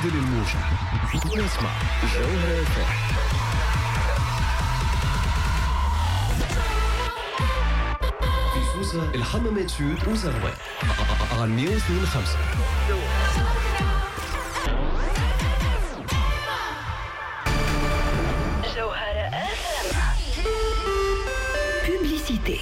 بدل الموجة واسمع جوهرة FM. في سوسة الحمامات Sud وزغوان على 102.5. جوهرة FM. Publicité.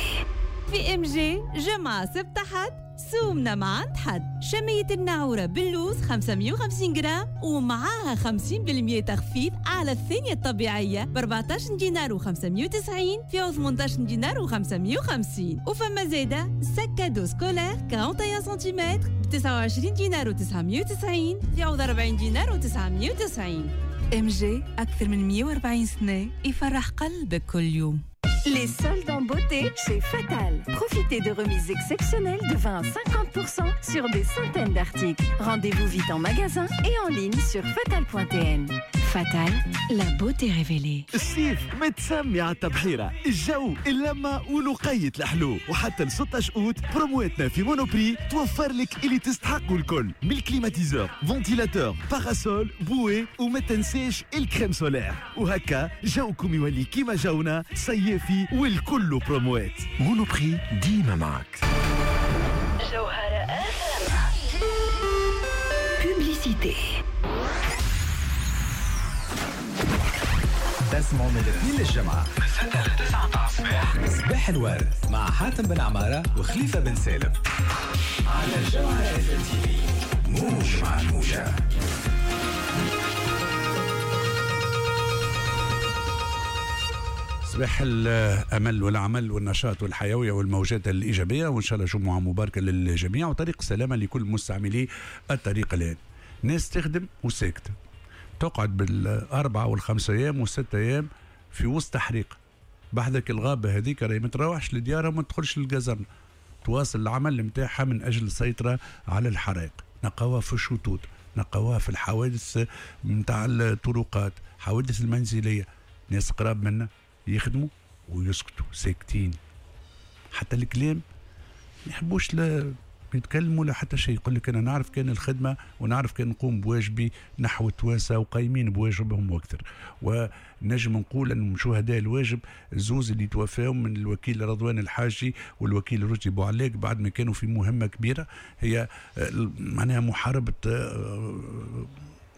في MG جمعة سبت حد سومنا ما عند حد. شمية النعورة باللوز 550 جرام ومعاها 50% تخفيض على الثانية الطبيعية ب 14 دينار و590 في 18 دينار و550. وفما زادة sac à dos scolaire 41 سنتيمتر ب 29 دينار و990 في 40 دينار و990. MG أكثر من 140 سنة يفرح قلبك كل يوم. Les soldes en beauté chez Fatal. Profitez de remises exceptionnelles de 20 à 50% sur des centaines d'articles. Rendez-vous vite en magasin et en ligne sur fatal.tn. Fatal, la beauté révélée. الصيف متسمي على التبحيرة، الجو اللمة ولقية الحلو، وحتى ل 16 أوت برومواتنا في Monoprix توفر لك اللي تستحقه الكل، من ال climatiseur، ventilateur، parasol، bouée، وما تنساش ال crème solaire. وهكا جوكم يولي كيما جونا صيافي والكل بروموات. Monoprix ديما معك. جوهرة FM. Publicité. تسمعوا من الاثنين للجمعة من 6 ل 9 متاع الصباح، صباح الورد مع حاتم بن عمارة وخليفة بن سالم على جوهرة FM TV. موج مع الموجة. صباح الامل والعمل والنشاط والحيوية والموجات الايجابية، وان شاء الله جمعه مباركة للجميع وطريق السلامة لكل مستعملي الطريق. الان ناس تخدم وساكته، تقعد بالاربعة والخمسة ايام والست ايام في وسط حريق بحذك الغابة هذيك، راهي ما تروحش لديارها وما تدخلش للجزرنه، تواصل العمل نتاعها من اجل السيطرة على الحرائق. نقاوها في الشطوط، نقاوها في الحوادث نتاع الطرقات، حوادث المنزلية، ناس قراب منا يخدموا ويسكتوا ساكتين، حتى الكلام ما يحبوش لا يتكلموا لا حتى شيء. يقول لك انا نعرف كان الخدمة ونعرف كان نقوم بواجبي نحو التوانسة وقايمين بواجبهم واكثر. ونجم نقول ان شهداء الواجب الزوز اللي توفاهم من الوكيل رضوان الحاجي والوكيل رشدي بوعلاق بعد ما كانوا في مهمة كبيرة هي معناها محاربة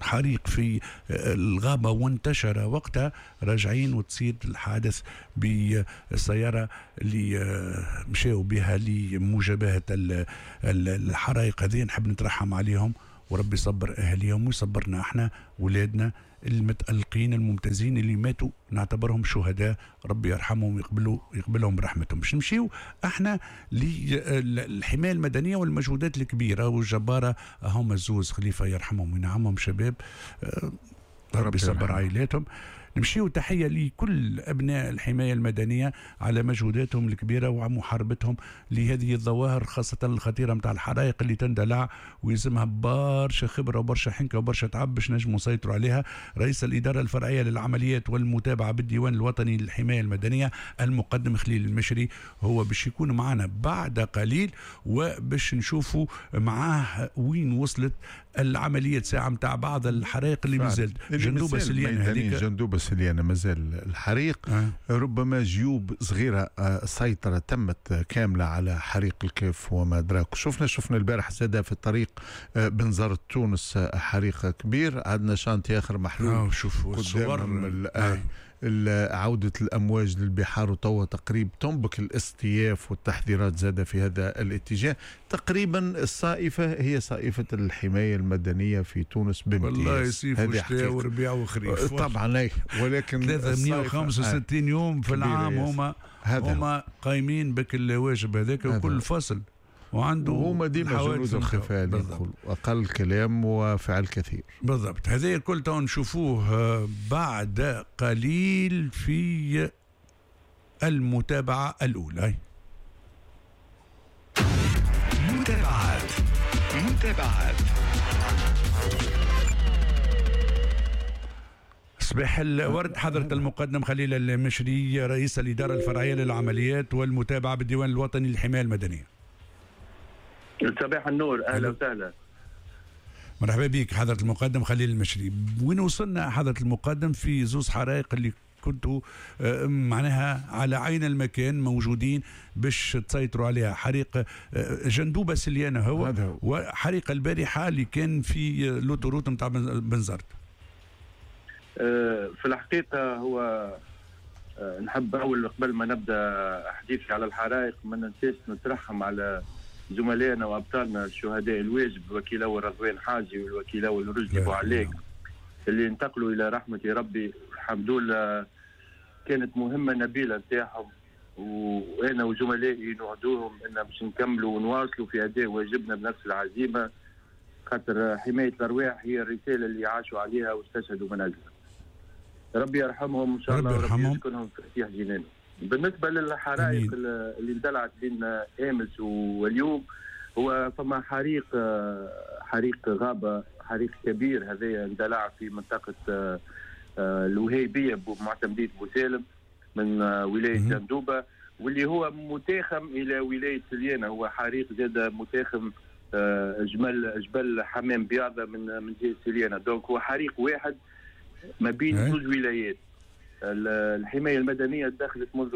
حريق في الغابة وانتشر وقتها، راجعين وتصير الحادث بالسيارة اللي مشاو بها لمجابهة الحرائق هذه. نحب نترحم عليهم وربي يصبر أهليهم ويصبرنا احنا ولادنا المتألقين الممتازين اللي ماتوا، نعتبرهم شهداء، ربي يرحمهم ويقبلهم برحمتهم. باش نمشيو احنا للحماية المدنية والمجهودات الكبيرة والجبارة، هم الزوز خليفة يرحمهم وينعمهم، شباب ربي يصبر عائلاتهم. نمشيو تحية لكل أبناء الحماية المدنية على مجهوداتهم الكبيرة ومحاربتهم لهذه الظواهر خاصة الخطيرة متاع الحرائق اللي تندلع ويلزمها برشا خبرة وبرشا حنكة وبرشا تعب باش نجموا نسيطروا عليها. رئيس الإدارة الفرعية للعمليات والمتابعة بالديوان الوطني للحماية المدنية المقدم خليل المشري هو باش يكون معنا بعد قليل، وباش نشوفوا معاه وين وصلت العملية ساعة متاع بعض الحرائق اللي مازالت. جندوبة سليانة هذيك، جندوبة سليانة مازال الحريق. ربما جيوب صغيرة السيطرة تمت كاملة على حريق الكاف وما أدراك. شفنا البارح زاد في الطريق بنزرت تونس حريق كبير، عندنا chantier آخر محلول. شوفوا الصور. عودة الأمواج للبحار وتوا تقريب تنبك الاصطياف والتحذيرات زاد في هذا الاتجاه. تقريبا الصائفة هي صائفة الحماية المدنية في تونس بامتياز. والله يصيف وشتاء وربيع وخريف طبعا، ولكن 365 يوم في العام هما قايمين بك الواجب هذاك وكل فصل وعنده وهما ديما جنود الخفاء اللي نقول اقل كلام وفعل كثير. بالضبط، هذا الكل تو نشوفوه بعد قليل في المتابعة الأولى. متابعات متابعات. صباح الورد حضرة المقدم خليل المشري رئيس الإدارة الفرعية للعمليات والمتابعة بالديوان الوطني للحماية المدنية. صباح النور، اهلا وسهلا. مرحبا بك حضرة المقدم خليل المشري. وين وصلنا حضرة المقدم في زوز حرائق اللي كنتوا معناها على عين المكان موجودين باش تسيطروا عليها؟ حريق جندوبة سليانة هو، وحريق البارحة اللي كان في l'autoroute نتاع بنزرت. في الحقيقة هو نحب أول قبل ما نبدأ حديثي على الحرائق ما ننساش نترحم على زملائنا وأبطالنا الشهداء الواجب، الوكيل أول رضوان حاجي والوكيل أول رشدي بوعلاق اللي انتقلوا إلى رحمة ربي. الحمد لله كانت مهمة نبيلة نتاعهم، وأنا وزملائي نوعدوهم أن باش نكملوا ونواصلوا في أداء واجبنا بنفس العزيمة، خاطر حماية الأرواح هي الرسالة اللي عاشوا عليها واستشهدوا من أجلها. ربي يرحمهم إن شاء الله وربي يسكنهم في فسيح جنانه. بالنسبة للحرائق اللي اندلعت بين أمس واليوم، هو فما حريق غابة، حريق كبير هذا اندلع في منطقة الوهيبية بمعتمدية بوسالم من ولاية جندوبة، واللي هو متاخم إلى ولاية سليانة. هو حريق زاد متاخم جبل حمام بياضة من جهة سليانة. donc هو حريق واحد ما بين زوج ولايات. الحماية المدنية دخلت منذ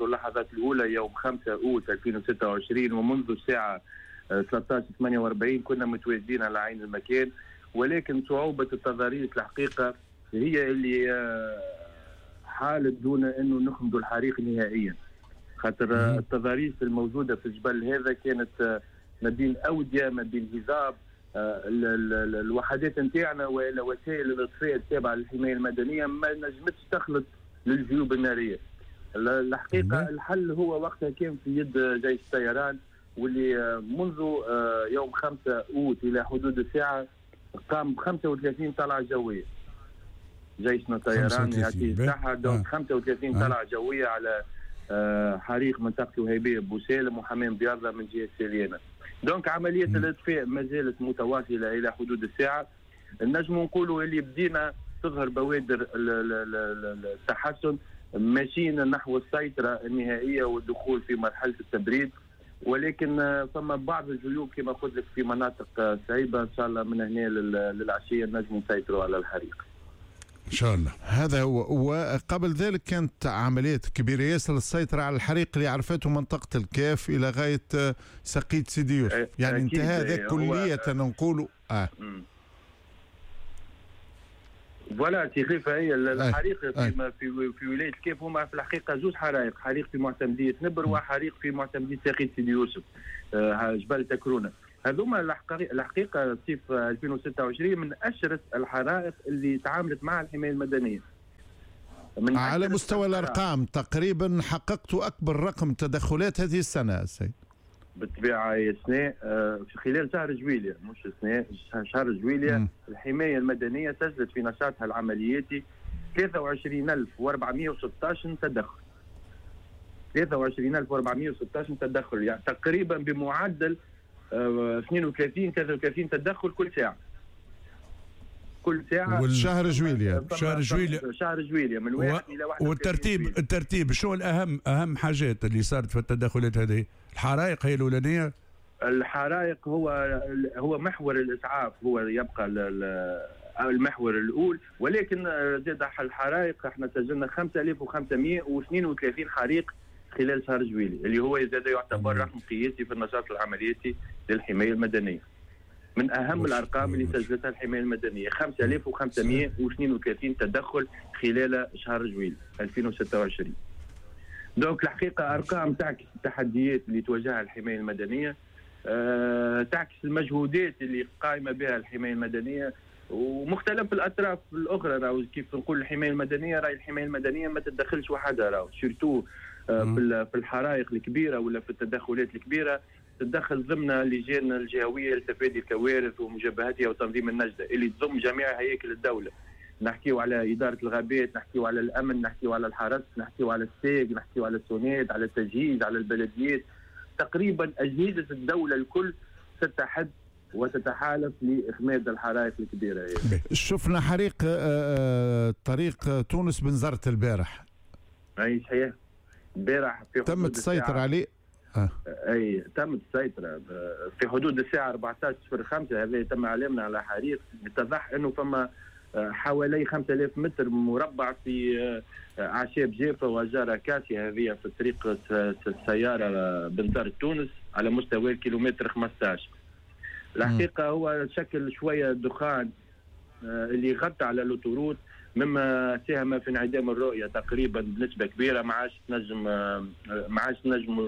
اللحظات الأولى يوم 5 أوت 2026، ومنذ الساعة 13:48 كنا متواجدين على عين المكان، ولكن صعوبة التضاريس الحقيقة هي اللي حالت دون أنه نخمدوا الحريق نهائيا، خاطر التضاريس الموجودة في الجبل هذا كانت ما بين أودية، ما بين هضاب. الوحدات نتاعنا ولا وسائل الاطفاء التابعة للحماية المدنية ما نجمتش تخلط للجيوب النارية. الحقيقة الحل هو وقتها كان في يد جيش الطيران، واللي منذ يوم 5 أوت الى حدود الساعة قام ب 35 طلعه جوية. جيشنا الطيران يعطيه الصحة، donc 35 طلعه جوية على حريق منطقة الوهيبيه بوسالم وحمام بياضه من جهة سليانه. donc عملية الإطفاء ما زالت متواصلة إلى حدود الساعة. نجم نقولوا اللي بدينا تظهر بوادر التحسن، ماشيين نحو السيطرة النهائية والدخول في مرحلة التبريد، ولكن فما بعض الجيوب كما قلت لك في مناطق صعيبة. إن شاء الله من هنا للعشية نجم نسيطروا على الحريق إن شاء الله. هذا هو. وقبل ذلك كانت عمليات كبيرة ياسر للسيطرة على الحريق اللي عرفته منطقة الكاف إلى غاية سقية سيدي يوسف، يعني انتهى ذاك كلية نقولوا. voilà تي هي الحريق في ولاية الكاف هما في الحقيقة زوج حرائق، حريق في معتمدية نبر وحريق في معتمدية سقية سيدي يوسف جبل تكرونة. هذوما الحقيقة صيف 2026 من أشرس الحرائق اللي تعاملت مع الحماية المدنية. من على مستوى الأرقام تقريبا حققت أكبر رقم تدخلات هذه السنة السيد. بالطبيعة يا سنة في خلال شهر جويلية، مش سنة، شهر جويلية الحماية المدنية سجلت في نشاطها العملياتي 23416 تدخل. 23416 تدخل، يعني تقريبا بمعدل 32 33 تدخل كل ساعة. كل ساعة. شهر جويلية. شهر جويلية. شهر جويلية من 1 إلى 31. والترتيب الترتيب شو الأهم، أهم حاجات اللي صارت في التدخلات هذه؟ الحرائق هي الأولانية؟ الحرائق هو محور الإسعاف، هو يبقى المحور الأول، ولكن زاد الحرائق احنا سجلنا 5532 حريق خلال شهر جويلية، اللي هو زاد يعتبر رقم قياسي في النشاط العملياتي للحماية المدنية. من أهم الأرقام اللي سجلتها الحماية المدنية 5532 تدخل خلال شهر جويلية 2026. donc الحقيقة أرقام تعكس التحديات اللي تواجهها الحماية المدنية، تعكس المجهودات اللي قائمة بها الحماية المدنية ومختلف الأطراف الأخرى. راهو كيف نقول الحماية المدنية، راهي الحماية المدنية ما تتدخلش وحدها، راهو surtout في الحرائق الكبيرة ولا في التدخلات الكبيرة تتدخل ضمن اللجان الجهوية لتفادي الكوارث ومجابهتها وتنظيم النجدة اللي تضم جميع هياكل الدولة. نحكيو على إدارة الغابات، نحكيو على الأمن، نحكيو على الحرس، نحكيو على الساق، نحكيو على السوناد، على التجهيز، على البلديات. تقريبا أجهزة الدولة الكل تتحد وتتحالف لإخماد الحرائق الكبيرة. شفنا حريق طريق تونس بنزرت البارح. أي صحيح، البارح تم السيطرة عليه. اي تمت السيطرة في حدود الساعة 14:05. هذا تم اعلامنا على حريق. اتضح انه فما حوالي 5000 متر مربع في اعشاب جافة واشجار اكاسيا، هذه في طريق السيارة بنزرت تونس على مستوى الكيلومتر 15. الحقيقة هو شكل شوية دخان اللي غطى على l'autoroute، مما ساهم في انعدام الرؤية تقريبا بنسبة كبيرة. ما عادش نجم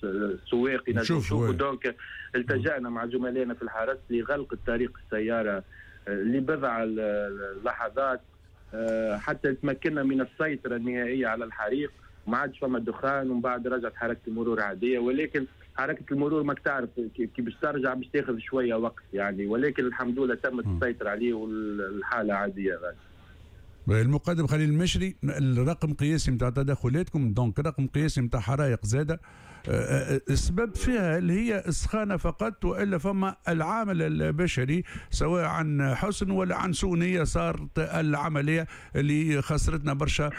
السواق ينجم يشوفوا. donc التجأنا مع زملائنا في الحرس لغلق الطريق السيارة لبضع اللحظات حتى تمكنا من السيطرة النهائية على الحريق. ما عادش فما دخان، ومن بعد رجعت حركة المرور عادية. ولكن حركة المرور ماك تعرف كي باش ترجع باش تاخذ شوية وقت يعني، ولكن الحمد لله تمت السيطرة عليه والحالة عادية غادي. المقدم خليل المشري، الرقم قياسي نتاع تدخلاتكم، donc رقم قياسي نتاع حرائق زاده، السبب فيها اللي هي السخانه فقط، والا فما العامل البشري سواء عن حسن ولا عن سوء نيه صارت العملية اللي خسرتنا برشا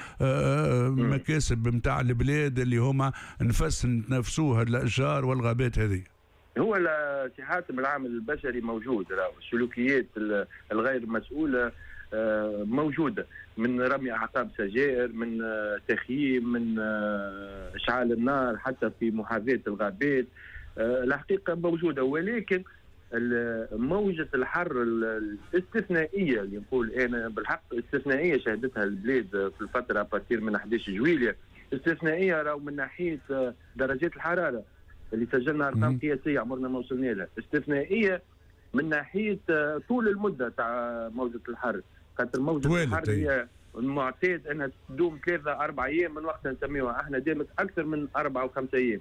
مكاسب نتاع البلاد اللي هما نفس نتنفسوها الاشجار والغابات هذه. هو سي حاتم العامل البشري موجود، السلوكيات الغير مسؤولة موجودة، من رمي اعقاب سجائر، من تخييم، من اشعال النار حتى في محاذاة الغابات، الحقيقة موجودة. ولكن موجه الحر الاستثنائية اللي نقول انا بالحق استثنائية شهدتها البلاد في الفترة à partir من 11 جويلية، استثنائية راهو من ناحية درجات الحرارة اللي سجلنا ارقام قياسية عمرنا ما وصلنا لها، استثنائية من ناحية طول المدة تاع موجه الحر، خاطر موجة الحر هي المعتاد انها تدوم 3-4 ايام من وقتها نسميوها، احنا دامت اكثر من 4 و5 ايام.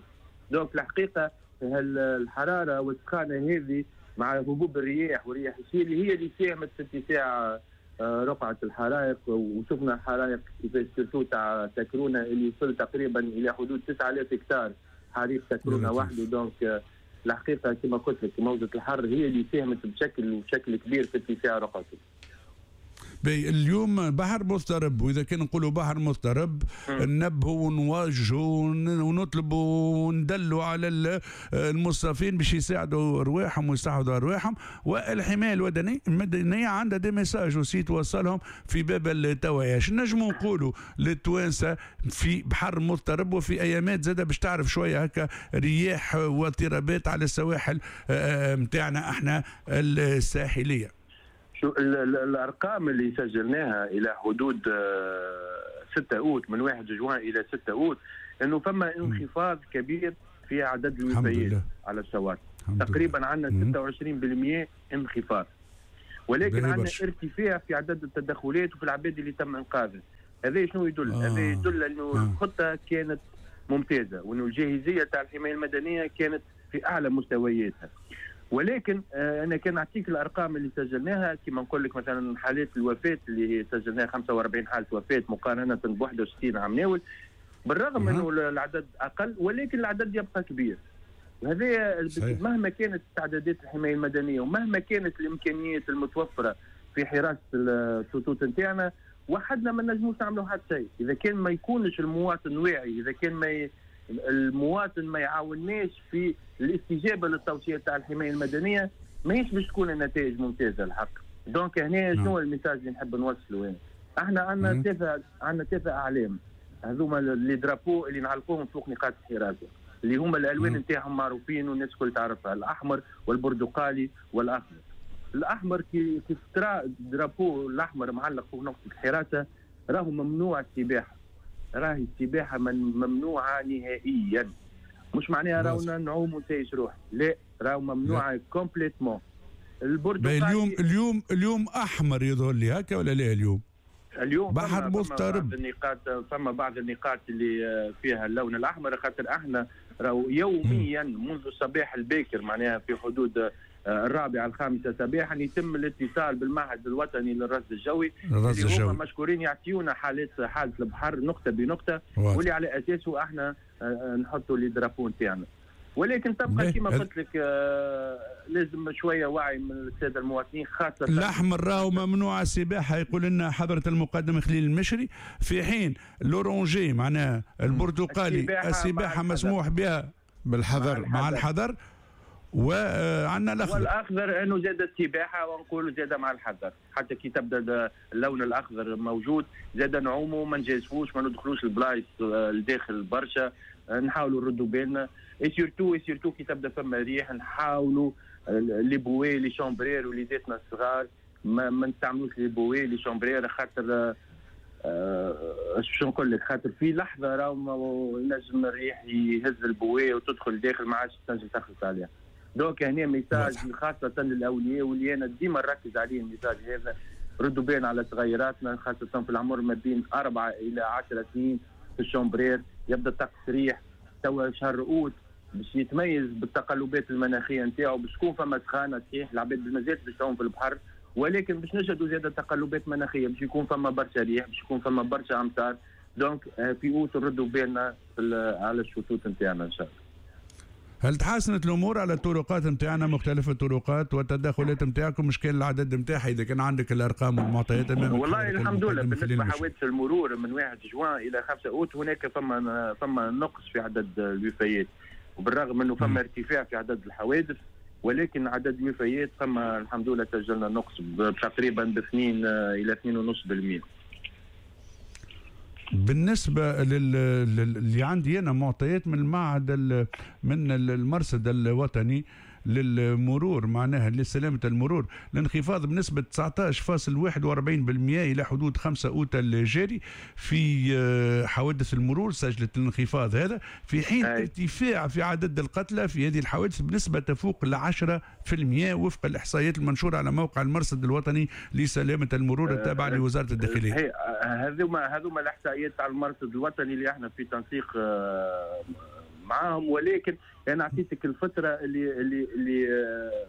donc الحقيقة الحرارة والسخانه هذه مع هبوب الرياح ورياح الشيل هي اللي ساهمت في اتساع رقعه الحرائق. وشفنا حرائق كيفاش surtout تاع تكرونه اللي وصل تقريبا الى حدود 9000 هكتار حريق تكرونه وحده. donc الحقيقة كما قلت لك موجه الحر هي اللي ساهمت بشكل كبير في اتساع رقعته. اليوم بحر مضطرب، واذا كان نقولوا بحر مضطرب ننبهوا ونواجهوا ونطلبوا وندلوا على المصطافين باش يساعدوا ارواحهم ويساعدوا ارواحهم. والحماية المدنية عندها des messages aussi توصلهم في باب التوعية. شنو نجموا نقولوا للتوانسه في بحر مضطرب وفي ايامات زاده باش تعرف شوية هكا رياح واضطرابات على السواحل نتاعنا احنا الساحلية؟ شو الارقام اللي سجلناها الى حدود 6 اوت، من 1 جوان الى 6 اوت، انه فما انخفاض كبير في عدد الوفيات على الشواطئ، تقريبا عندنا 26% انخفاض، ولكن عندنا ارتفاع في عدد التدخلات وفي العباد اللي تم انقاذها. هذا شنو يدل؟ هذا يدل انه الخطة كانت ممتازة، وانه الجاهزيه تاع الحماية المدنية كانت في اعلى مستوياتها. ولكن انا كان نعطيك الارقام اللي سجلناها، كما نقول لك مثلا حالات الوفاة اللي سجلناها 45 حاله وفاه مقارنة ب 61 عام ناول، بالرغم انه العدد اقل ولكن العدد يبقى كبير. وهذا مهما كانت استعدادات الحماية المدنية ومهما كانت الامكانيات المتوفرة في حراسة الشطوط نتاعنا، وحدنا ما نجموش نعملوا حتى شيء اذا كان ما يكونش المواطن واعي، اذا كان ما المواطن ما يعاوناش في الاستجابة للتوصيات تاع الحماية المدنية، ماهيش باش تكون النتائج ممتازة الحق. donc هنا شنو ال message اللي نحب نوصله؟ احنا عندنا ثلاثة اعلام، هذوما les drapeaux اللي نعلقوهم فوق نقاط الحراسة، اللي هما الالوان نتاعهم معروفين والناس الكل تعرفها، الاحمر والبرتقالي والاخضر. الاحمر كيف ترى drapeau الاحمر معلق فوق نقطة الحراسة، راهو ممنوع السباحة، راهي السباحة ممنوعة نهائيا. مش معناها راهو نعوم ونسيش روح، لا، راهو ممنوعة complètement. البرتقالي اليوم احمر يظهر لي هكا ولا لا؟ اليوم بحر مضطرب، فما بعض النقاط اللي فيها اللون الاحمر، خاطر احنا راهو يوميا منذ الصباح الباكر، معناها في حدود 4 5 صباحا، يتم الاتصال بالمعهد الوطني للرصد الجوي، اللي هما مشكورين يعطيونا حاله البحر نقطة بنقطة، واللي على اساسه احنا نحطوا les drapeaux نتاعنا. ولكن تبقى كما قلت لك لازم شوية وعي من السادة المواطنين، خاصة الاحمر راهو ممنوع السباحة، يقول لنا حضره المقدم خليل المشري، في حين l'orangé معناها البرتقالي السباحة مسموح بها بالحذر، مع الحذر. وعندنا الاخضر، والاخضر انه زاد السباحة، ونقولوا زاد مع الحذر، حتى كي تبدا اللون الاخضر موجود زاد نعوموا، ما نجازفوش، ما ندخلوش البلايص الداخل برشا، نحاولوا نردوا بالنا، et surtout كي تبدا فما ريح نحاولوا les bouées les chambres à air وليداتنا الصغار ما نستعملوش les bouées les chambres à air، خاطر باش نقول لك، خاطر في لحظة راهو ينجم الريح يهز ال bouée وتدخل داخل ما عادش تنجم تخلص عليها. donc هنا message خاصة للاولياء، واللي انا ديما نركز عليه ال message هذا، ردوا بالنا على صغيراتنا خاصة في العمر ما بين 4 الى 10 سنين في ال chambre à air، يبدا الطقس ريح توا شهر اوت باش يتميز بالتقلبات المناخية نتاعو، باش تكون فما سخانه صحيح العباد مازالت باش تعوم في البحر، ولكن باش نشهدوا زاده تقلبات مناخيه، باش يكون فما برشا ريح، باش يكون فما برشا امطار. donc في اوت نردوا بالنا على الشطوط نتاعنا ان شاء الله. هل تحسنت الامور على الطرقات نتاعنا، مختلف الطرقات والتدخلات نتاعكم، مش كان العدد نتاعها اذا كان عندك الارقام والمعطيات امامك؟ والله الحمد لله بالنسبة لحوادث المرور من 1 جوان الى 5 اوت هناك فما نقص في عدد الوفيات، وبالرغم انه فما ارتفاع في عدد الحوادث، ولكن عدد الوفيات فما الحمد لله سجلنا نقص تقريبا ب 2 الى 2.5%. بالنسبة اللي عندي أنا معطيات من المعهد من المرصد الوطني للمرور، معناها لسلامة المرور، الانخفاض بنسبة 19.41% إلى حدود 5 أوت الجاري في حوادث المرور، سجلت الانخفاض هذا، في حين ارتفاع في عدد القتلى في هذه الحوادث بنسبة تفوق 10% وفق الإحصائيات المنشورة على موقع المرصد الوطني لسلامة المرور التابع لوزارة الداخلية. هذوما الإحصائيات تاع المرصد الوطني اللي احنا في تنسيق معاهم، ولكن انا اعطيتك الفترة اللي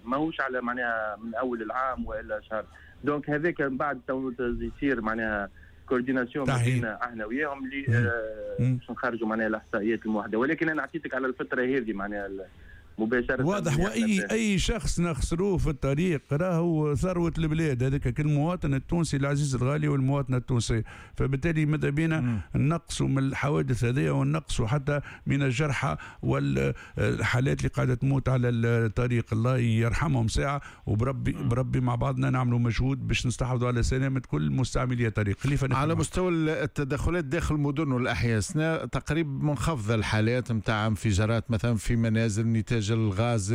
ماهوش على معناها من اول العام والا شهر، donc هذاك من بعد يصير معناها coordination بيننا احنا وياهم اللي باش نخرجوا معناها الاحصائيات الموحدة، ولكن انا اعطيتك على الفترة هذه معناها مباشرة. واضح. واي شخص نخسروه في الطريق راهو ثروة البلاد، هذاك كل مواطن التونسي العزيز الغالي والمواطنه التونسية، فبالتالي ماذا بينا نقصوا من الحوادث هذه ونقصوا حتى من الجرحى والحالات اللي قاعدة تموت على الطريق، الله يرحمهم ساعة، وبربي بربي مع بعضنا نعملوا مجهود باش نستحفظوا على سلامه كل مستعملي الطريق. خليفة، على مستوى التدخلات داخل المدن والاحياء تقريبا منخفضة الحالات نتاع انفجارات مثلا في منازل نتاج الغاز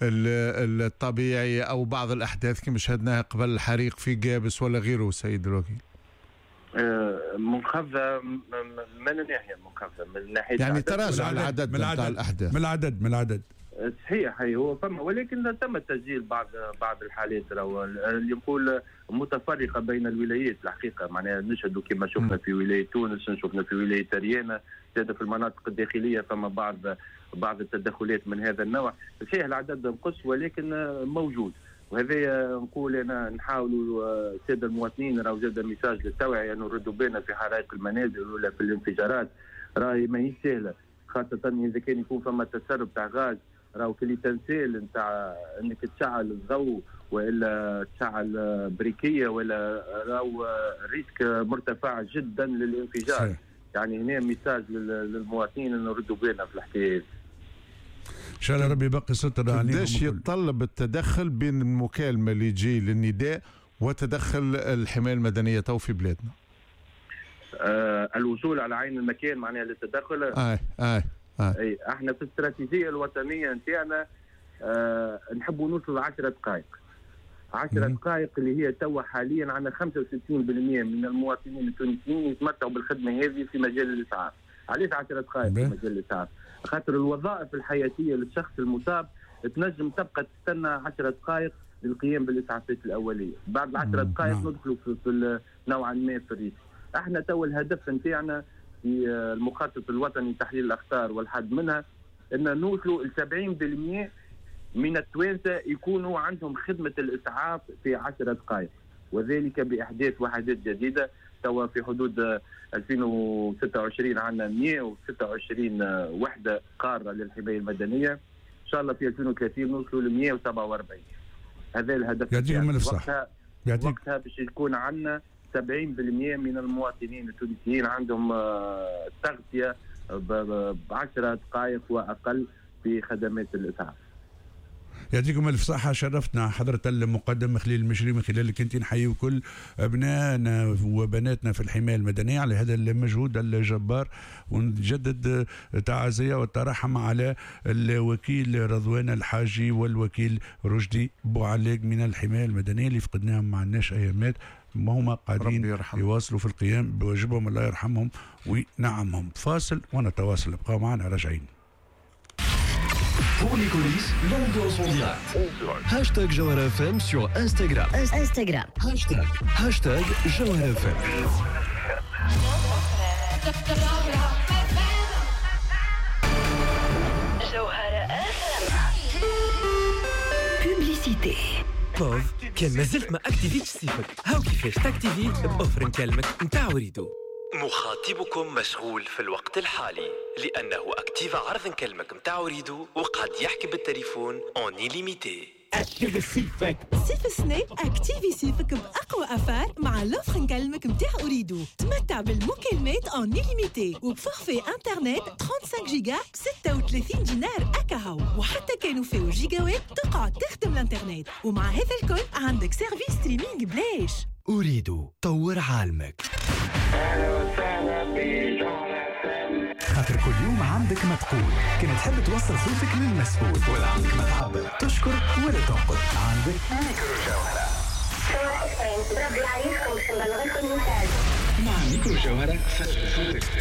الطبيعي او بعض الاحداث كما شهدناها قبل الحريق في قابس ولا غيره سيد الوكيل؟ منخفضة من الناحية، منخفضة من ناحية يعني تراجع العدد من الاحداث، من العدد صحيح هو فما، ولكن تم تسجيل بعض الحالات اللي نقول متفرقة بين الولايات الحقيقة، معناها نشهدوا كما شفنا في ولاية تونس، شفنا في ولاية ريانه، زاد في المناطق الداخلية فما بعض التدخلات من هذا النوع. صحيح العدد نقص ولكن موجود، وهذا نقول انا نحاولوا السادة المواطنين راهو زاد message للتوعية انه نردوا بالنا في حرائق المنازل ولا في الانفجارات، راهي ماهيش سهلة، خاصة اذا كان يكون فما تسرب تاع غاز، راهو كل تنسيل نتاع انك تشعل الضوء والا تشعل briquet ولا راهو risque مرتفع جدا للانفجار. صحيح. يعني هنا message للمواطنين انه نردوا بالنا في الحكاية. ان شاء الله ربي يبقي ستر عليهم. قداش يتطلب التدخل بين المكالمة اللي تجي للنداء وتدخل الحماية المدنية تو في بلادنا؟ الوصول على عين المكان معناها للتدخل. اي احنا في الاستراتيجية الوطنية نتاعنا نحبوا نوصل 10 دقائق. 10 دقائق اللي هي توا حاليا عندنا 65% من المواطنين التونسيين يتمتعوا بالخدمة هذه في مجال الاسعاف. علاش 10 دقائق في مجال الاسعاف؟ خاطر الوظائف الحياتية للشخص المصاب تنجم تبقى تستنى 10 دقائق للقيام بالاسعافات الاولية، بعد 10 دقائق ندخلوا في نوعا ما في ال risque. احنا توا الهدف نتاعنا في المخطط الوطني لتحليل الاخطار والحد منها ان نوصلوا ل 70% من التوانسة يكونوا عندهم خدمة الاسعاف في 10 دقائق، وذلك باحداث وحدات جديدة. توا في حدود 2026 عندنا 126 وحده قارة للحماية المدنية، ان شاء الله في 2030 نوصلوا ل 147. هذا الهدف. يعطيكم الف صحة. وقتها باش يكون عندنا 70% من المواطنين التونسيين عندهم تغطيه ب10 دقائق واقل في خدمات الاسعاف. يعطيكم الف صحة، شرفتنا حضره المقدم خليل المشري، من خلالك انت نحيي كل ابنائنا وبناتنا في الحماية المدنية على هذا المجهود الجبار، ونجدد تعازيه والترحم على الوكيل رضوان الحاجي والوكيل رشدي بوعلاق من الحماية المدنية اللي فقدناهم ما عندناش ايامات، ما هما قاعدين يواصلوا في القيام بواجبهم، الله يرحمهم وينعمهم. فاصل ونتواصل، ابقوا معنا راجعين. Pour les coulisses, l'ambiance en direct. Hashtag Jawhara FM sur Instagram. Instagram. Hashtag Jawhara FM. Jawhara FM. Publicité. بوف كان مازلت ما اكتيفيتش سيفك، هاو كيفاش تاكتيفي ب offre نكلمك نتاع أوريدو. مخاطبكم مشغول في الوقت الحالي لأنه أكتيف عرض نكلمك متاع أوريدو وقعد يحكي بالتليفون en illimité. أكتيفي سيفك صيف السنة، أكتيفي سيفك بأقوى affaire مع l'offre نكلمك متاع أوريدو. تمتع بالمكالمات en illimité وب forfait internet 35 جيجا ب 36 دينار أكاهو، وحتى كانوا فيه جيجاوات تقعد تخدم الانترنت، ومع هذا الكل عندك service streaming بلاش. أوريدو طور عالمك. خاطر كل يوم عندك ما تقول، كان تحب توصل صوتك للمسؤول، ولا عندك ما تعبر، تشكر ولا تنقد، عندك ميكرو جوهرة. مع ميكرو جوهرة فجر صوتك.